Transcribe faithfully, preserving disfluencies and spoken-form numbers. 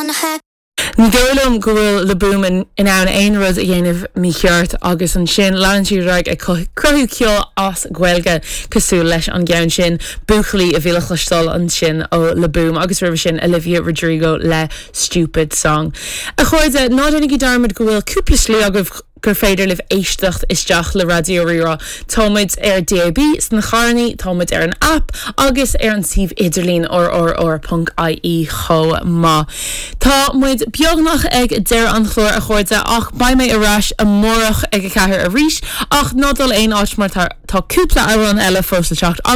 Wanna hack Ní dóigh liom go bhfuil Le Boom in in ann aon rud a dhéanamh mícheart agus ansin leanann sí ar aghaidh ag cruthú ceol as Gaeilge cosúil leis an gceann sin buachaillí a bhí le cloisteáil ansin ó Le Boom agus roimhe sin Olivia Rodrigo le Stupid Song. A chairde ná déanaigí dearmad go bhfuil cúpla slí agaibh gur féidir libh éisteacht isteach le Raidió Rí-Rá. Táimid ar DAB sna carranna, táimid ar an app agus ar an suíomh idirlín rrr.ie chomh maith. Tá muid beagnach ag deireadh an chláir a chairde ach beidh mé ar ais amárach ag a ceathair arís ach ná dul aon áit mar tá cúpla amhrán eile fós le teacht